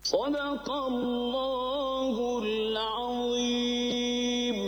صدق الله العظيم.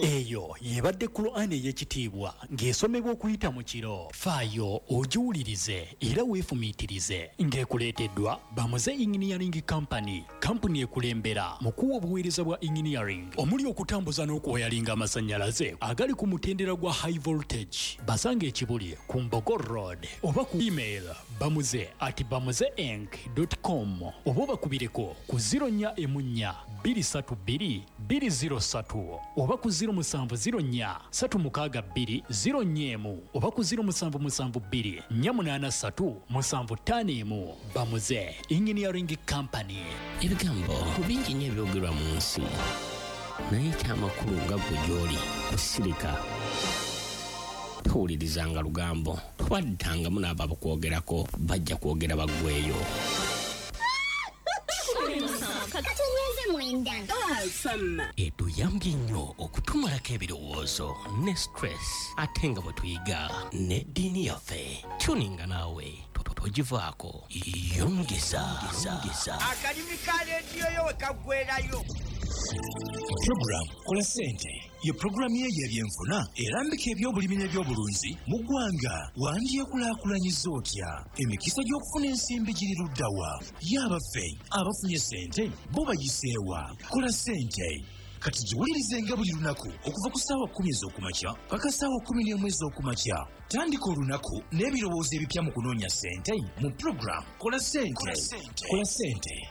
Eyo y'ebadde Kulaani ey'ekitiibwa ng'esomebwa okuyita mu kiro. Faayo ogiwulirize era weefumiitirize ng'ekuleeteddwa Bamuze Engineering Company, kampuni ekulembera mu kuwa obuweereza bwa engineering omuli okutambuza n'okuwayalinga amasannyalaze agali ku mutendera gwa high voltage. Basange e Kibuli ku Mbogo Road oba ku email bamuze@bamuzeenc.com oba obakubireko ku 04 4 232 203 oba ku 0704 362 04 oba ku 0772 483 751. Bamuze Engineering Company. Ebigambo bingi nnyo ebyogerwa mu nsi, naye ekyamakulu nga ggwe gy'oli kusirika. Towulirizanga lugambo, tobaddangamu n'abo abakwogerako, bajja kwogera baggweeyo. Etuyambye nnyo okutumalako ebirowoozo ne stress, ate nga bwe tuyiga n'eddiini yaffe. Tuninga naawe togivaako, yongeza. Akalimi ka leediyo yo we kaggwerayo. Program Kola Ssente ye pulogulaamu ye ey'ebyenfuna erambika ebyobulimi n'ebyobulunzi mu ggwanga. Wandyekulaakulanyiza otya? Emikisa gy'okufuna ensimbi giri ludda wa? Ye abaffe abafunye ssente bo bayiseewa? Kola Ssente kati giwulirizenga buli lunaku okuva ku ssaawa 10 ez'okumakya paka ssaawa 11 ez'okumakya. Tandika olunaku n'ebirowoozo ebipya mu kunoonya ssente mu pulogulaamu Kola Ssente. Kola Ssente.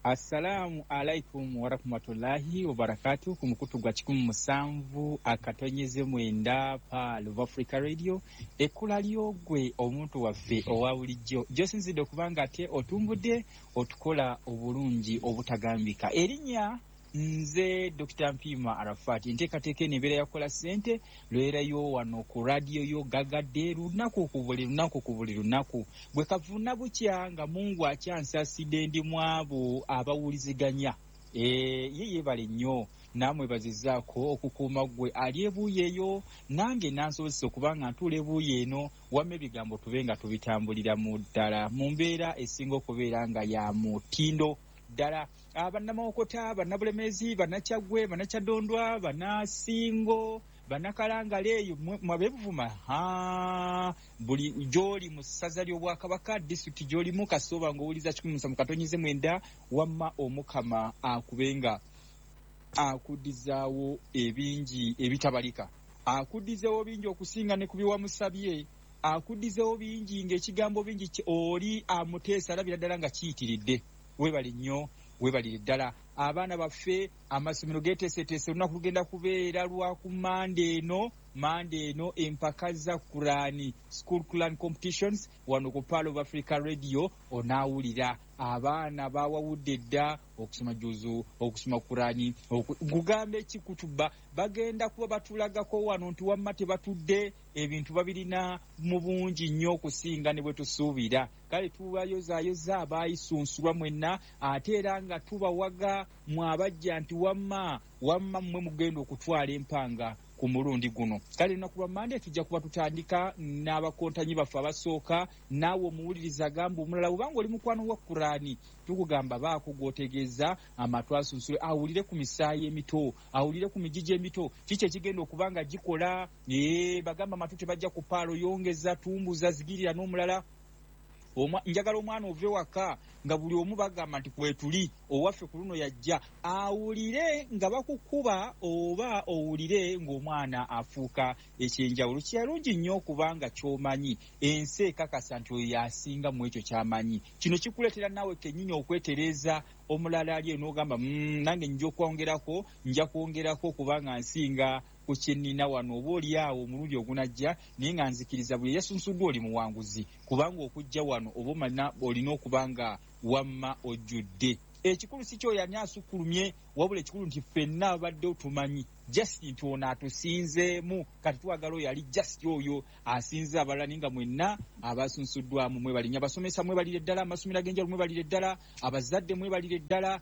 Assalaamu alaikum warahmatullahi wabarakatu. Ku mukutu gwa 107.9 Pearl of Africa Radio, ekkula ly'ogwe omuntu waffe owa bulijjo gy'osinzidde okuba nga ate otumbudde otukola obulungi obutagambika. Erinnya nze Dr. Mpiima Arafat. Enteekateeka eno ebeera yakola ssente lwerayo wano ku radiyo yo gagadde lunaku ku buli lunaku ku buli lunaku. Bwe kavuna bukya nga Mungu akyansasidde ndi mu abo abawuliziganya. Ye yeebale nnyo naamwebazizaako okukuuma ggwe ali ebuuyi eyo nange nansobozesa okuba nga ntuula ebuuyi eno, wamma ebigambo tube nga tubitambulira mu ddala mu mbeera esinga okubeera nga ya mutindo ddala. Bannamawokota, bannabulemeezi, bannakyaggwe, bannakyaddondwa, bannasingo, bannakalangala eyo mwabebuvuma, buli gy'oli mu ssaza ly'Obwakabaka, disitulikiti gy'olimu, kasooba ng'owuliza 107.9, wamma Omukama akubenga akuddizaawo ebingi ebitabalika, akuddizeewo bingi okusinga ne ku bye wamusabye, akuddizeewo bingi ng'ekigambo bingi oli amuteesa alabira ddala nga kiyitiridde. Weebale nnyo, weebalire ddala. Abaana baffe amasomero geeteeseteese, olunaku lugenda kubeera lwa ku Mande eno, Mande eno empaka za Kurani, School Quran Competitions wano ku Pearl of Africa Radio. Onaawulira abaana bawawudde dda okusoma juzu, okusoma Kurani, nkugamba ekikutuba bagenda kuba batulagako wano nti wamma tebatudde, ebintu babirina mu bungi nnyo okusinga ne bwe tusuubira. Kale tubayozaayoza abaayisunsulwa mwenna, ate era nga tubawaga mwe abajja nti wamma wamma mmwe mugenda okutwala empanga ku mulundi guno. Kale lunaku lwa Mmande tujja kuba tutandika n'abakontanyi baffe abasooka. Naawe omuwuliriza agamba omulala, bw'obanga oli mukwano wa Kurani, tukugamba baako gw'otegeeza amatu asunsule, awulire ku misaayi emito, awulire ku migigi emito, kiki ekigenda okuba nga gikola. Bagamba amatu tebajja ku paalo, yongeza, tumbuza, zigirira n'omulala. Njagala omwana ove waka nga buli omu bagamba nti kwetuli, owaffe ku luno yajja, awulire nga bakukuba oba owulire ng'omwana afuuka ekyenjawulo. Kirungi nnyo okubanga ky'omanyi, ensi ekakasa nti oyo y'asinga mu ekyo ky'amanyi. Kino kikuleetera naawe kennyini okwetereeza omulala ali eno n'ogamba, nange nja kwongerako, nja kwongerako kubanga nsinga ku kye nnina wano, oba oli awo omulundi ogunajja, naye nga nzikiriza buli eyasunsuddwa oli muwanguzi, kubanga okujja wano oba omanya olina okuba nga wamma ojjudde. Ekikulu si kyoyo ani asukkulumye Wabula ekikulu nti ffenna abaddewo tumanyi just nti ono atusinzeemu, kati twagala oyo ali just oyo asinze abalala, naye nga mwenna abasunsuddwamu mwebalinnya. Abasomesa mwebalire ddala, amasomero ag'enjawulo mwebalire ddala, abazadde mwebalire ddala.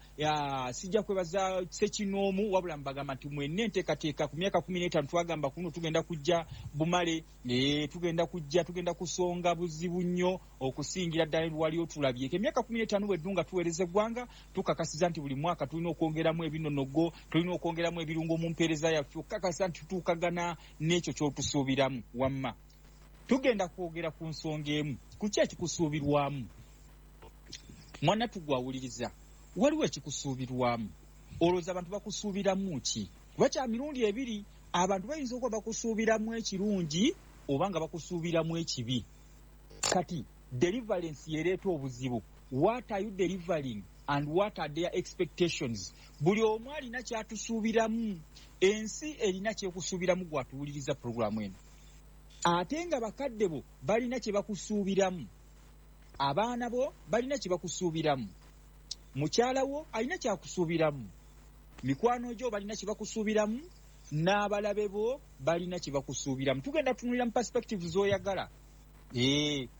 Sijja kwebaza ssekinoomu, wabula mbagamba nti mwenna enteekateeka ku myaka 15 twagamba kuno tugenda kujja bumale, tugenda kujja, tugenda kusonga buzibu nnyo okusingira ddala wali otulabyeko. Emyaka 15 bweddu nga tuweereza eggwanga, tukakasiza nti buli mwaka tulina okwongeramu ebinonogo, tulina okwongeramu ebirungo mu mpeereza yaffe, okukakasa nti tutuukagana n'ekyo ky'otusuubiramu. Wamma tugenda kwogera ku nsonga emu, ku ki ekikusuubirwamu. Mwana tugwawuliriza, waliwo ekikusuubirwamu. Olowooza abantu bakusuubiramu ki? Kuba kya mirundi ebiri, abantu bayinza okuba bakusuubiramu ekirungi oba nga bakusuubiramu ekibi. Kati deliverance yereeta obuzibu. What are you delivering and what are their expectations? Buli omu alina kyatusuubiramu. Ensi erina kyekusuubiramu gwatuwuliriza puroguramu eno, ate nga bakadde bo balina kye bakusuubiramu, abaana bo balina kye bakusuubiramu, mukyala wo alina kyakusuubiramu, mikwano gyo balina kye bakusuubiramu, n'abalabe bo balina kye bakusuubiramu. Tugenda kutunulira mu perspective z'oyagala.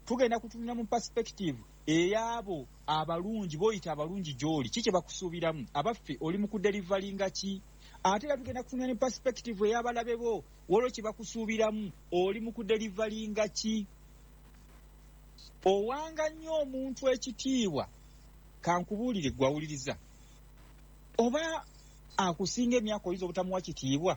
Tugenda kutunulira mu perspective ey'abo abalungi b'oyita abalungi gy'oli, ki kye bakusuubiramu, abaffe oli mu kudelivalinga ki? Ate era tugenda kutunulira mu perspective ey'abalabe bo, waliwo kye bakusuubiramu, oli mu kudelivalinga ki? Owanga nnyo omuntu ekitiibwa, kankubuulire gwawuliriza, oba akusinga emyaka oyinza obutamuwa kitiibwa,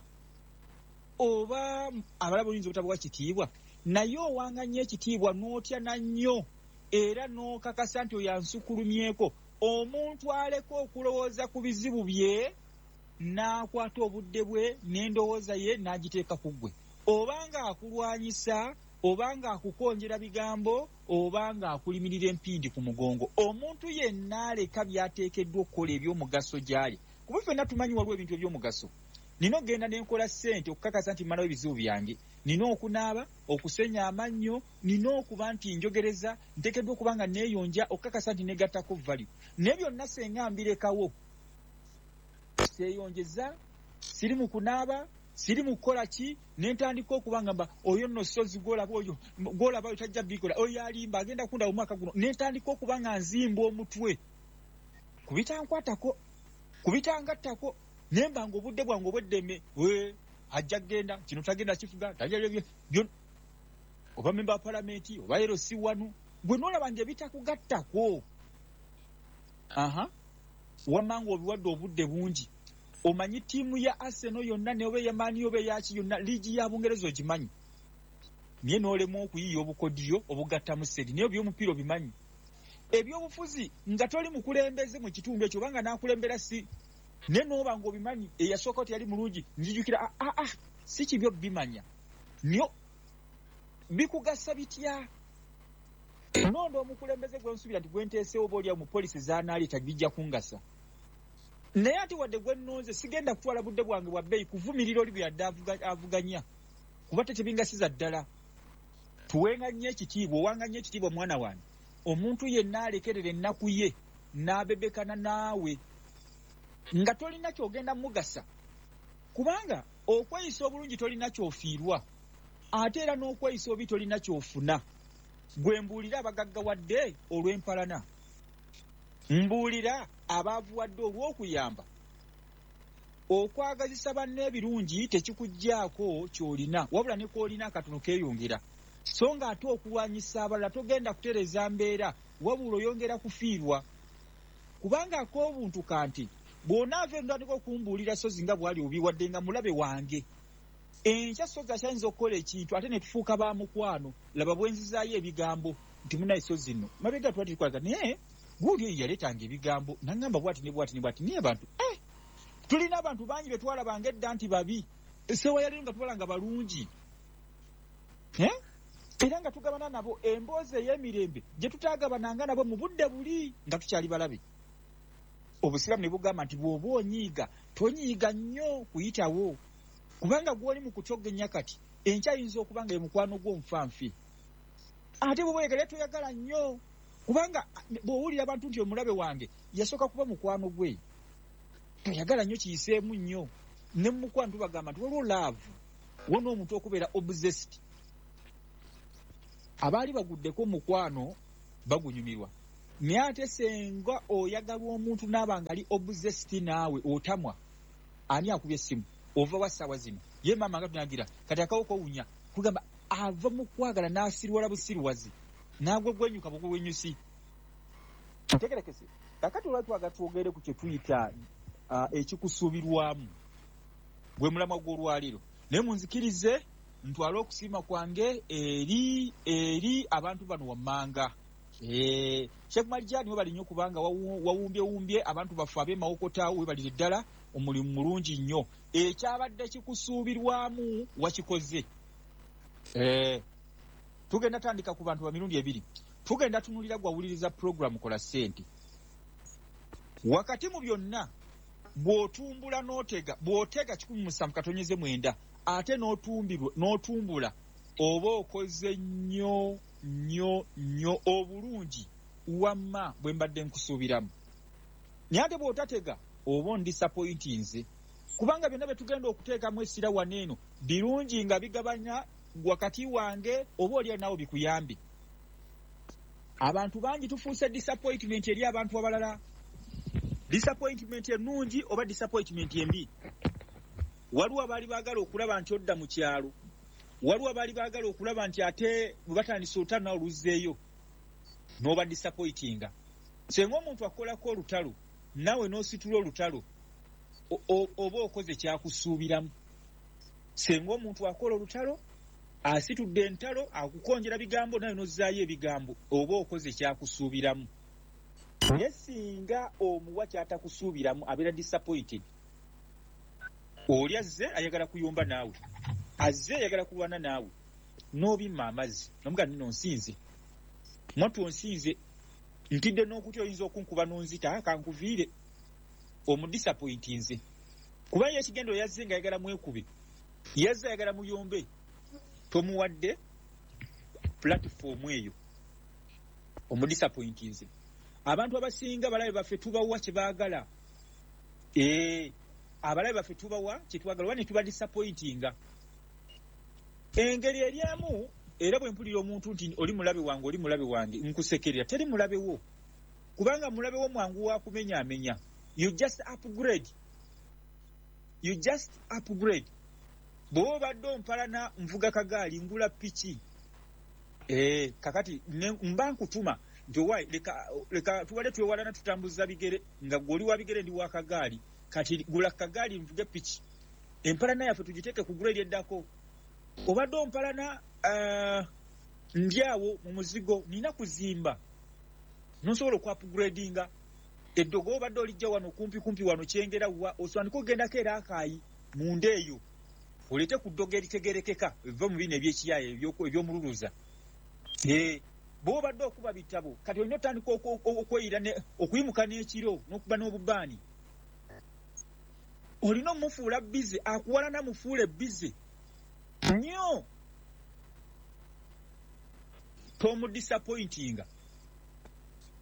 oba abalabe oyinza obutamuwa kitiibwa, naye owanga nnyo ekitiibwa n'otya na nnyo era n'okakasa nti oyo ansukulumyeko. Omuntu aleka okulowooza ku bizibu bye n'akwata obudde bwe n'endowooza ye n'agiteeka ku ggwe, oba ng'akulwanyisa, oba ng'akukonjera bigambo, oba ng'akulimirira empindi ku mugongo. Omuntu yenna aleka by'ateekeddwa okukola eby'omugaso gy'ali, kuba ffenna tumanyi waliwo ebintu eby'omugaso. Nina okugenda ne nkola ssente okukakasa nti mmalawo ebizibu byange, nina okunaaba, okusenya amannyo, nina okuba nti njogereza, nteekeddwa okuba nga neeyonja okukakasa nti negattako value. Naye byonna senga mbirekawo, seeyonjeza, siri mu kunaaba, siri mu kukola ki, ne ntandika okuba nga mba oyo nno sozi gw'olaba oyo gw'olaba oyo tajja bikola, oyo alimba agenda kundaba omwaka guno, ne ntandika okuba nga nzimba omutwe ku bitankwatako, ku bitangattako, ne mba nga obudde bwange obw'eddembe, ajja kugenda kino tagenda kifuga, oba memba wa palamenti oba LC wano, gwe n'olaba nga ebitakugattako. Wamma ng'obiwadde obudde bungi. Omanyi ttiimu ya Arsenal yonna ne oba eya Man U oba eyaki yonna, liigi ya Bungereza ogimanyi, naye n'olemwa okuyiiya obukodyo obugattamu ssente, naye eby'omupiira obimanyi. Ebyobufuzi nga toli mukulembeze mu kitundu ekyo, obanga n'akulembera si, naye n'oba ng'obimanyi, eyasookawo teyali mulungi, nzijukira si kibi obimanya, naye bikugasa bitya? Nonda omukulembeze gwe nsuubira nti gwe nteeseewo oba oliawo mu polisi z'anaaleeta bijja kungasa, naye ate wadde gwe nnonze sigenda kutwala budde bwange bwa bbeeyi kuvumirira oli bwe yadde avuganya, kuba tebingasiza ddala. Tuwenga nnyo ekitiibwa, owanga nnyo ekitiibwa mwana wange. Omuntu yenna alekerera ennaku ye n'abebekana naawe nga tolina ky'ogenda mugasa, kubanga okweyisa obulungi tolina ky'ofiirwa, ate era n'okweyisa obi tolina ky'ofuna. Gwe mbuulira abagaggawadde olw'empalana, mbuulira abaavuwadde olw'okuyamba. Okwagazisa banne ebirungi tekikuggyaako ky'olina, wabula ne kw'olina akatono keeyongera. So ng'ate okulwanyisa abalala togenda kutereeza mbeera, wabula oyongera kufiirwa. Kubanga ak'obuntu kanti bw'onaava eno ntandika okumbuulira sozi nga bw'ali obubi, wadde nga mulabe wange, enkya sozi akyayinza okukola ekintu ate ne tufuuka ba mukwano. Laba bwe nzizaayo ebigambo nti munaye sozi nno mabega twali tukwalaga, naye guuli oyo yaleetanga ebigambo n'aŋŋamba bw'ati ne bw'ati ne bw'ati. Naye abantu tulina abantu bangi be twalabanga edda nti babi, essewa yaliyo nga tubalanga balungi, era nga tugabana nabo emboozi ey'emirembe gye tutaagabananga nabo mu budde buli nga tukyali balabe. Obusiraamu ne bugamba nti bw'oba onyiiga tonyiiga nnyo kuyitawo, kubanga gw'oli mu kutogenya kati enkya ayinza okuba nga ye mukwano gwo nfanfe. Ate bw'oba oyagala toyagala nnyo, kubanga bw'owulira abantu nti omulabe wange yasooka kuba mukwano gwe. Toyagala nnyo kiyiseemu nnyo. Ne mukwano tubagamba nti waliwo love, wona omuntu okubeera obsessed. Abaali baguddeko mukwano bagunyumirwa, naye ate senga oyagalwa omuntu n'aba nga ali obsessed naawe otamwa. Ani akubye essimu? Ova wa ssaawa zino? Ye maama nga tunagira kati akawuka owunya, kugamba ava mu kwagala n'asirwala busirwazi n'agwegwenyuka bugwenyusi. Ntegerekese. Kakati olwali twagala twogere ku kye tuyita ekikusuubirwamu, gwe mulamwa gw'olwaleero. Naye munzikirize ntwale okusiima kwange eri abantu bano wammanga. Sheikh Marijani webali nnyo kubanga wawumbyewumbye abantu baffe ab'e Mawokota, webalire ddala, omulimu mulungi nnyo. Ekyabadde kikusuubirwamu wakikoze. Tugenda tandika ku bantu ba mirundi ebiri. Tugenda tunulira gwawuliriza program Kola Ssente. Wakati mu byonna bw'otumbula n'otega, bw'otega 107.9 ate n'otumbula oba okoze nnyo nnyo nnyo obulungi wamma bwe mbadde nkusuubiramu. Naye ate bw'otatega oba ondisappointinze, kubanga byonna bye tugenda okuteekamu essira wano eno birungi nga bigabanya wakati wange oba oli naawe bikuyambe. Abantu bangi tufuuse disappointment eri abantu abalala. Disappointment ennungi oba disappointment embi. Waliwo abaali baagala okulaba nti odda mu kyalo, waliwo abaali baagala okulaba nti ate bwe batandise olutalo naawe oluzzeeyo n'oba disappointinga. Singa omuntu akolako olutalo naawe n'ositula olutalo oba okoze kyakusuubiramu. Singa omuntu akola olutalo asitudde entalo akukonjera bigambo nawe n'ozzaayo ebigambo oba okoze kyakusuubiramu. Naye singa omuwa kyatakusuubiramu abeera disappointed. Oli azze ayagala kuyomba naawe, azze ayagala kulwana naawe, n'obimma amazzi nomugamba nno nsinze, mwattu onsinze, ntidde n'okutya oyinza okunkuba n'onzita, kankuviire. Omudisappointinze kuba ye ekigendo yazze nga ayagala mwekube, yazze ayagala muyombe, tomuwadde platform eyo, omudisappointinze. Abantu abasinga balabe baffe tubawa kye baagala. Abalabe baffe tubawa kye twagala oba ne tuba disappointinga. Engeri eryamu era bwe mpulira omuntu nti oli mulabe wange, oli mulabe wange, nkusekerera. Teri mulabe wo, kubanga mulabe wo mwangu wa kumenyaamenya. You just upgrade. You just upgrade. Bw'oba obadde ompalana nvuga kagaali ngula piki. Kakati mba nkutuma nti owaayi leka tubadde twewalana tutambuza bigere nga gwe oli wa bigere ndi wa kagaali, kati gula kagaali nvuge piki. Empalana yaffe tugiteeke ku grade eddako. Obadde ompalana ndi awo mu muzigo nina kuzimba, nosobola okuupgradinga eddogo obadde olijja wano kumpi kumpi wano Kyengera wa osandika ogendako era Akaayi munda eyo oleete ku ddogo eritegerekeka eva mu bino ebyekiyaaye ebyomululuza. Bw'obadde okuba bitabo kati olina otandika okweyira okuyimuka n'ekiro n'okuba n'obubaani. Olina omufuula bize, akuwalana mufuule bize nnyo, tomudisappointinga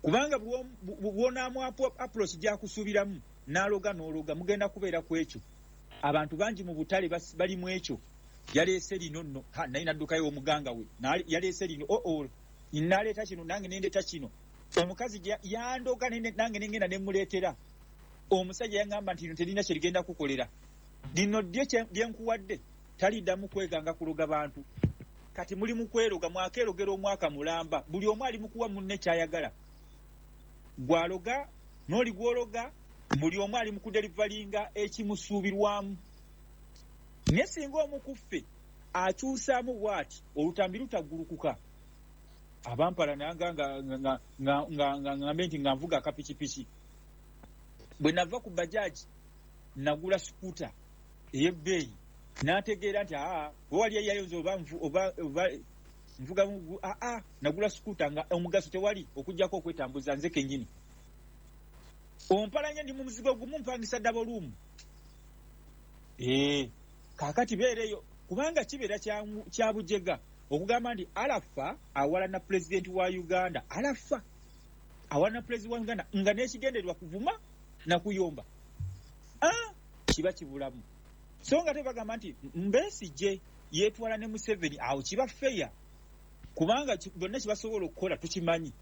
kubanga bw'onaamu approach gy'akusuubiramu n'aloga n'ologa mugenda kubeera ku ekyo. Abantu bangi mu butale bali mu ekyo. Yaleese lino nno, naye n'addukayo omuganga we, yaleese lino, naleeta kino nange nendeeta kino. Omukazi yandoga nange nengenda nemuleetera. Omusajja yaŋŋamba nti lino terina kye ligenda kukolera, lino ddyo lye nkuwadde taliddamu kweganga kuloga bantu. Kati muli mu kweroga, mwakeerogera omwaka mulamba, buli omu ali mu kuwa munne ky'ayagala. Gw'aloga n'oli gw'ologa, buli omu ali mu kudelivalinga ekimusuubirwamu. Naye singa omu ku ffe akyusaamu bw'ati, olutambi lutaggulukuka. Abampala nanga nga ngambe nti nga nvuga akapikipiki, bwe nava ku bajaji nagula sukuta ey'ebbeeyi, n'ategeera nti aa wewali eyayonza oba nvuga aa nagula sukuta nga omugaso tewali okuggyako okwetambuza nze kennyini. Ompalanye ndi mu muzigo gumu mpangisa double room. Kaakati beereyo kubanga kibeera kya bujega okugamba nti Alafa awalana pulezidenti wa Uganda, Alafa awalana pulezidenti wa Uganda nga n'ekigendererwa kuvuma na kuyomba. Kiba kibulamu. So nga tebagamba nti Besigye yeetwala ne Museveni, awo kiba feya, kubanga bonna kibasobola okukola tukimanyi.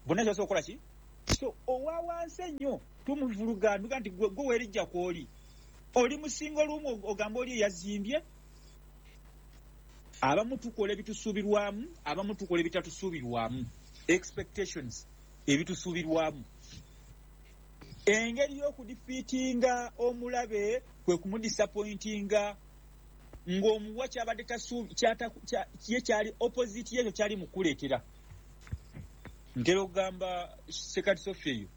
Bonna kibasobola okukola ki? So owa wansi ennyo tumuvuluga nduga nti gwe weerijja kwoli oli musinga olumu ogamba oli eyazimbye. Abamu tukola ebitusuubirwamu, abamu tukola ebitatusuubirwamu, expectations ebitusuubirwamu. Engeri y'okudefeatinga omulabe kwe kumudisappointinga ng'omuwa kyabadde ye kyali opposite yekyo kyali mukuleetera. Ntera okugamba Sekati Sophia eyo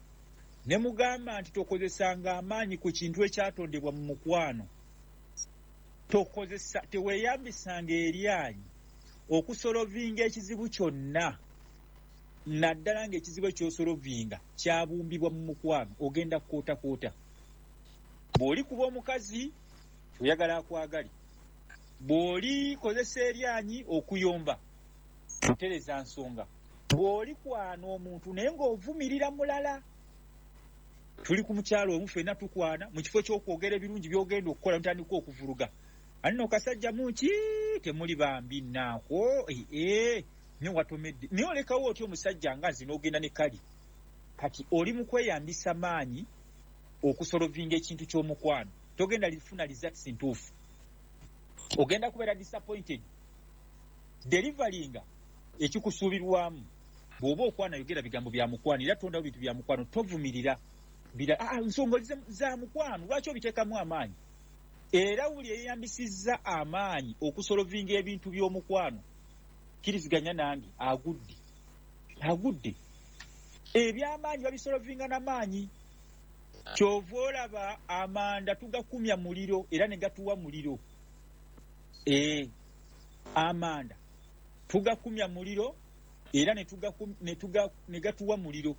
ne mugamba nti tokozesanga amaanyi ku kintu ekyatondebwa mu mukwano. Tokozesa, teweeyambisanga eryanyi okusolovinga ekizibu kyonna, naddala ng'ekizibu ekyosolovinga kyabumbibwa mu mukwano. Ogenda kukootakoota. Bw'oli kuba omukazi oyagala akwagale, bw'oli kozesa eryanyi okuyomba otereza nsonga, bw'oli kwana omuntu naye ng'ovumirira mulala. Tuli ku mukyalo omu ffenna tukwana, mu kifo ky'okwogera ebirungi by'ogenda okukola mutandika okuvuluga. Anno kasajja munki temuli bambi nnaako nyo watomedde, naye olekawo otya omusajja nga nze n'ogenda ne kali. Kati oli mu kweyambisa maanyi okusolovinga ekintu ky'omukwano, togenda lifuna results ntuufu, ogenda kubeera disappointed. Deliveringa ekikusuubirwamu. Bw'oba okwana yogera bigambo bya mukwano, era tondawo bintu bya mukwano, tovumirira nsonga za mukwano, lwaki obiteekamu amaanyi? Era buli eyeyambisizza amaanyi okusolovinga ebintu by'omukwano, kkiriziganya nange, agudde agudde. Ebyamaanyi babisolovinga n'amaanyi. Kyova olaba amanda tugakumya muliro era ne gatuwa muliro. Amanda tugakumya muliro era ne gatuwa muliro.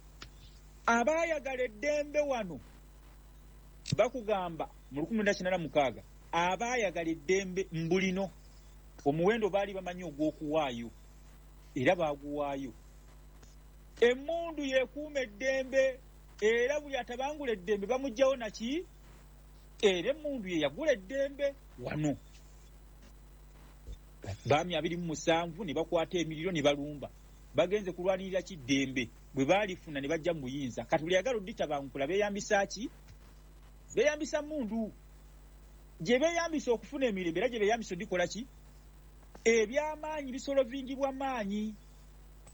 Abaayagala eddembe wano bakugamba mu 1986 abaayagala eddembe mbulino omuwendo baali bamanyi ogw'okuwaayo era baaguwaayo. Emmundu yeekuuma eddembe, era buli atabangula eddembe bamuggyawo naki, era emmundu ye yagula eddembe wano. Baami 27 ne bakwata emiriro ne balumba, bagenze kulwanirira ki ddembe, bwe baalifuna ne bajja mu buyinza. Kati buli ayagala odditabangula beeyambisa ki? Beeyambisa mmundu gye beeyambisa okufuna emirembe, era gye beeyambisa odikola ki? Ebyamaanyi bisolovingibwa maanyi.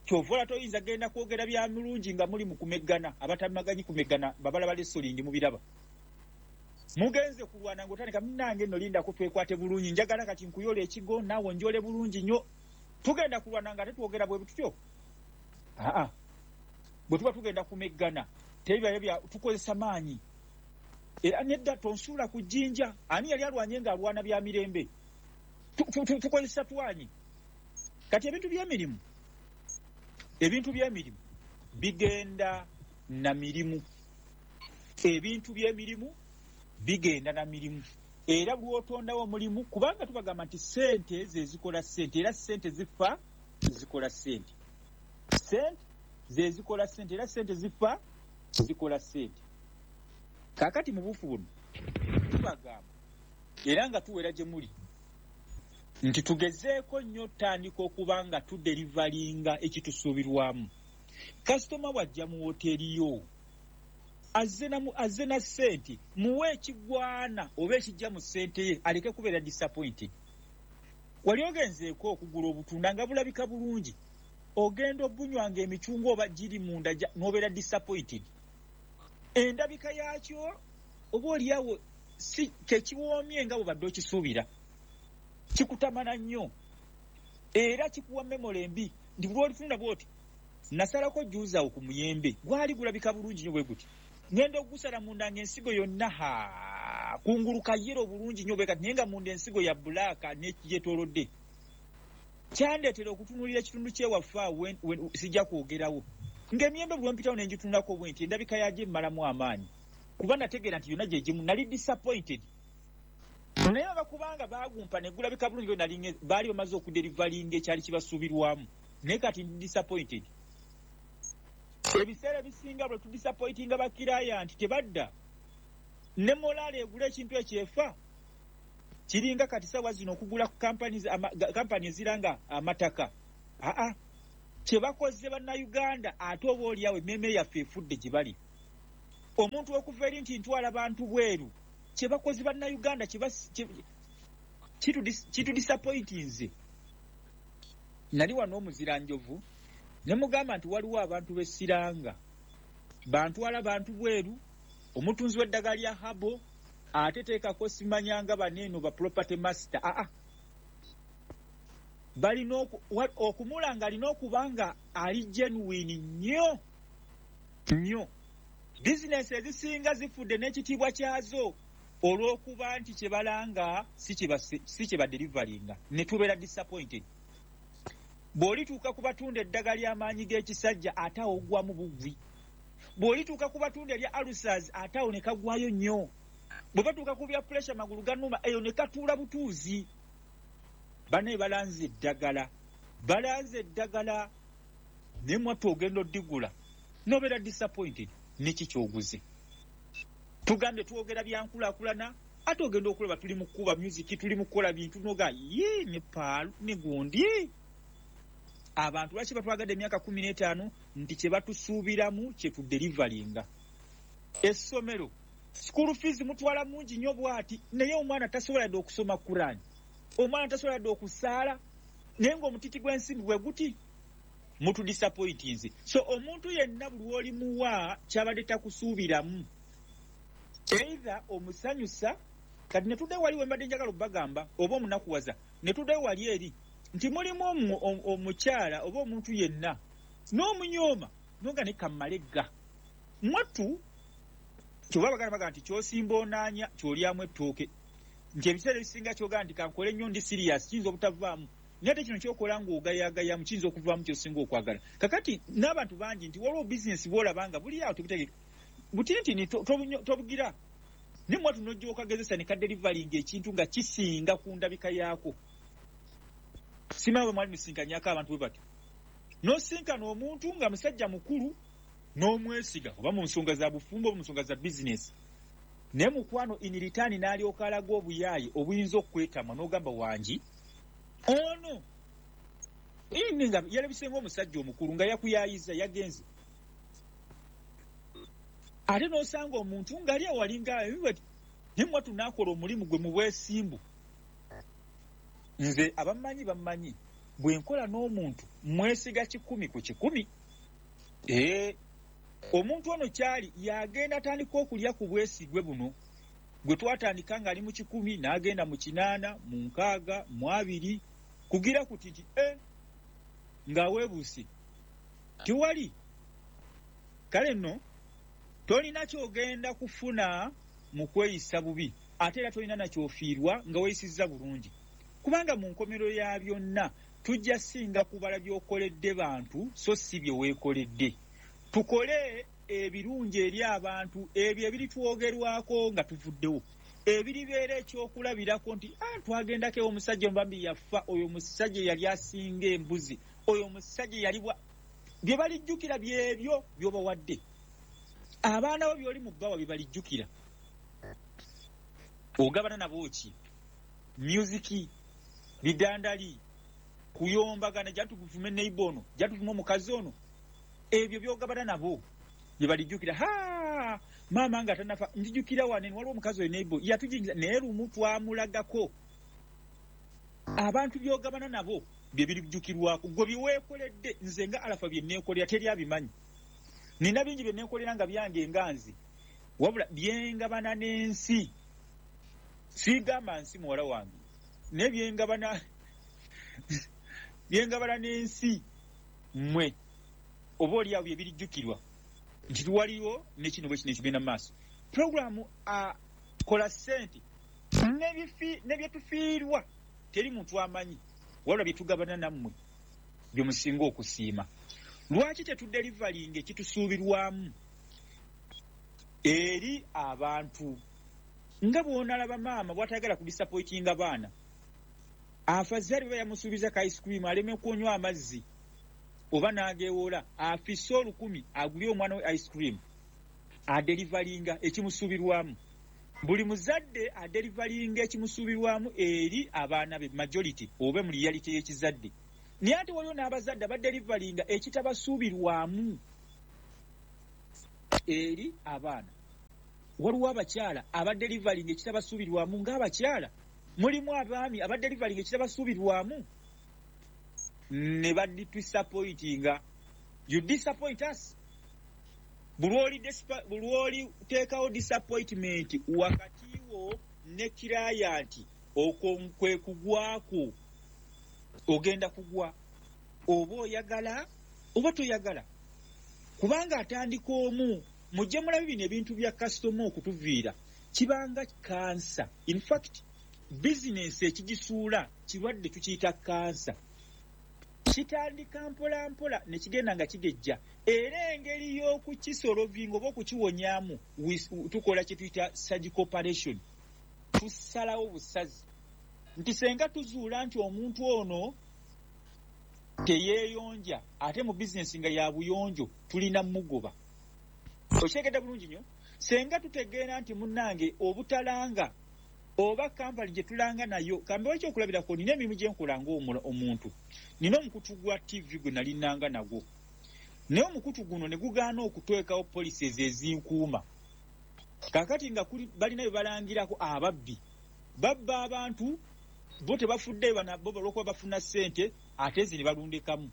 Kyova ola toyinza genda kwogera bya mulungi nga muli mu kumeggana. Abatamaganyi kumeggana babalaba lesolingi mubiraba. Mugenze kulwana ng'otandika munnange nno lindako twekwate bulungi, njagala kati nkuyola ekigo naawe onjole bulungi nnyo. Tugenda kulwana nga tetwogera bwe tutyo. Bwe tuba tugenda kumeggana tebibayo bya tukozesa maanyi. Era nedda tonsuula ku jjinja. Ani yali alwanye ng'alwana bya mirembe? Tukozesa twanyi. Kati ebintu by'emirimu, ebintu by'emirimu bigenda na mirimu. Ebintu by'emirimu bigenda na mirimu. Era lw'otondawo omulimu, kubanga tubagamba nti ssente ze zikola ssente, era ssente zifa zikola ssente. Ssente ze zikola ssente, era ssente zifa zikola ssente. Kaakati mu buufu buno tubagamba era nga tuwera gye muli nti tugezeeko nnyo tandika okuba nga tuderivalinga ekitusuubirwamu. Kasitoma bw'ajja mu woteeri yo azze na ssente, muwe ekigwana oba ekijja mu ssente ye aleke kubeera disappointed. Wali ogenzeeko okugula obutunda nga bulabika bulungi, ogenda obunywanga emicungwa oba giri munda n'obeera disappointed. Endabika yaakyo oba oliawo si tekiwoomye nga bw'obadde okisuubira, kikutamana nnyo era kikuwa memory embi nti lw'olifunda bw'oti nasalako juuzi awo ku muyembe gwali gulabika bulungi nnyo bwe guti, ngenda okugusala munda ng'ensigo yonna ha kungulu kayero bulungi nnyo bwe kati, naye nga munda ensigo ya bulaaka n'ekyetoolodde. Kyandeetera okutunuulira ekitundu ky'ewaffe awo sijja kwogerawo, ng'emiyembe bwe mpitawo ne ngitunulako bwe nti endabika yagyo emmalamu amaanyi, kuba nategeera nti yonna gye gimu. Nali disappointed, naye bakubanga baagumpa ne gulabika bulungi bwe nali baali bamaze okuderivalinga ekyali kibasuubirwamu, naye kati ndi disappointed. Ebiseera ebisinga bwe tudisappointinga bakiraya nti tebadda. Ne morale egula ekintu ekyefa kiringa kati sawa zino okugula kampani eziranga amataka. Aa, kye bakoze Bannayuganda, ate oba oliawo emmeeme yaffe efudde gye bali. Omuntu okuva eri nti ntwala bantu bweru, kye bakoze Bannayuganda kitudisappointinze. Nali wano omuziranjovu ne mugamba nti waliwo abantu b'essiranga bantwala bantu bweru, omutunzi w'eddagala lya habo ate teekako simanyanga baneeno ba property master. Aa, balina okumulanga, alina okuba nga ali genuine nnyo nnyo. Bizinesi ezisinga zifudde n'ekitiibwa kyazo olw'okuba nti kye balanga si kye baderivalinga, ne tubeera disappointed. Bw'olituuka ku batunda eddagala ly'amaanyi g'ekisajja, ate awo oggwamu bugwi. Bw'olituuka ku batunda erya ulcers, ate awo ne kagwayo nnyo. Bwe batuuka ku bya pressure, magulu ganuma, eyo ne katuula butuuzi. Banaye balanze eddagala, balanze eddagala, naye mwattu ogenda oddigula nobeera disappointed. Neki kyoguze? Tugambye twogera byankulaakulana, ate ogenda okulaba tuli mu kukuba music, tuli mu kukola bintu, noga ye ne paalu ne gundi. Abantu lwaki batwagadde emyaka 15? Nti kye batusuubiramu kye tuderivalinga. Essomero school fees mutwala mungi nnyo bw'ati, naye omwana tasobola dde okusoma Kurani, omwana tasobola dde okusaala, naye ng'omutiti gw'ensimbi bwe guti. Mutudisappointinze. So omuntu yenna buli lw'olimuwa kyabadde takusuubiramu, either omusanyusa. Kati ne tuddayo wali wembadde njagala obbagamba, oba omunakuwaza. Ne tuddayo wali eri nti mulimu omukyala oba omuntu yenna n'omunyooma noga ne kammalegga mwattu. Kyoba baganda baga nti kyosimba onaanya kyolyamu ettooke, nti ebiseera ebisinga kyogaa nti kankole nnyo, ndi serious, kiyinza obutavaamu, naye ate kino kyokola ng'ogayagayamu kiyinza okuvaamu kyosinga okwagala. Kakati n'abantu bangi nti waliwo bizinesi bwolaba nga buli awo tebutegeka butintini, tobugira, naye mwatu nojja okagezesa ne kaderivalinga ekintu nga kisinga ku ndabika yaako. Simanyi bwe mwali musinkanyako abantu bwe batyo, n'osinkana omuntu nga musajja mukulu n'omwesiga, oba mu nsonga za bufumbo oba mu nsonga za bizinesi, naye mukwano in return n'alyoka alaga obuyaaye obuyinza okwetamwa, n'ogamba wangi ono ini nga yalabise ng'omusajja omukulu nga yakuyayiza yagenze. Ate n'osanga omuntu ng'ali awalinga, naye mwatu n'akola omulimu gwe mu bwesimbu. Nze abammanyi bammanyi, bwe nkola n'omuntu mwesiga 100%. Ee, omuntu ono kyali yagenda atandika okulya ku bwesigwe buno gwe twatandika ng'ali mu 100, n'agenda mu 80, mu 60, mu 20, kugira kuti nti e ng'aweebuuse tewali. Kale nno tolina kyogenda kufuna mu kweyisa bubi, ate era tolina nakyofiirwa nga weeyisizza bulungi, kubanga mu nkomero ya byonna tujja singa kubala by'okoledde bantu so si bye weekoledde. Tukole ebirungi eri abantu, ebyo ebiritwogerwako nga tuvuddewo, ebiribeera ekyokulabirako nti ah, twagendako ewo omusajja omubambi yafa, oyo omusajja yali asinga embuzi, oyo omusajja yali bwa. Bye balijjukira byebyo by'obawadde. Abaana bo by'oli mu bbawa bye balijjukira. Ogabana nabo ki? Music, bidandali, kuyombagana, jatuvume neighbor ono, jatuvume omukazi ono, ebyo byogabana nabo bye balijjukira. Ha, maama nga tanafa, nzijukira wane waliwo omukazi oyo neighbor yatujingiza, naye lumu twamulagako. Abantu byogabana nabo bye birijjukirwako. Gwe byeweekoledde, nze nga Alafa bye neekolera teri abimanyi. Nina bingi bye neekolera nga byange nga nze, wabula byengabana n'ensi, siigamba nsi muwala wange, naye byengabana n'ensi mmwe, oba oli awo bye birijjukirwa nti waliwo ne kino bwe kino ekigenda mu maaso. Puroguramu kola ssente ne byetufiirwa teri muntu amanyi, wabula bye tugabana nammwe bye musinga okusiima. Lwaki tetuderivalinga ekitusuubirwamu eri abantu? Nga bw'onalaba maama bw'atayagala kudisappointinga baana, afazaali bwe yamusuubiza ka ice cream aleme kunywa amazzi oba n'ageewola afise 1000 agulye omwana we ice cream, aderivalinga ekimusuubirwamu. Buli muzadde adeliveringa ekimusuubirwamu eri abaana be, majority oba mu reality y'ekizadde. Naye ate waliwo n'abazadde abadeliveringa ekitabasuubirwamu eri abaana. Waliwo abakyala abadeliveringa ekitabasuubirwamu ng'abakyala, mulimu abaami abadeliveringa ekitabasuubirwamu ne badisappointinga. You disappoint us. Buli lw'oliteekawo disappointment wakati wo ne client, okwo kwe kugwako, ogenda kugwa oba oyagala oba toyagala, kubanga atandika omu. Mujje mulabe bino ebintu bya kasitoma okutuviira kibanga kansa. In fact, bizinensi ekigisuula kirwadde tukiyita kansa. Kitandika mpola mpola ne kigenda nga kigejja, era engeri y'okukisolovinga oba okukiwonyaamu, tukola kye tuyita surgical operation. Tusalawo busazi nti senga tuzuula nti omuntu ono teyeeyonja, ate mu bizinensi nga ya buyonjo, tulina mugoba. Okitegedde bulungi nnyo? Senga tutegeera nti munnange obutalanga oba kampani gye tulanga nayo, kambewo ekyokulabirako, nina emirimu gye nkola ng'omuntu. Nina omukutu gwa TV gwe nalinanga nagwo, naye omukutu guno ne gugaana okuteekawo policies ezinkuuma. Kaakati nga balina bye balangirako, ababbi babba abantu, bo tebafuddeyo, bo olwokuba bafuna ssente, ate ezi ne balundekamu.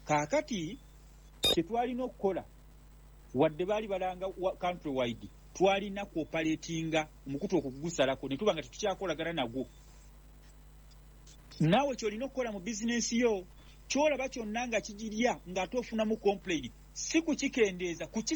Kaakati kyetwalina okukola, wadde baali balanga country wide, twalina kuoperatinga omukutu okugusalako ne tuba nga tetukyakolagana nagwo. Naawe kyolina okukola mu bizinensi yo, kyolaba kyonna nga kigirya ng'ate ofunamu complain, si kukikendeeza.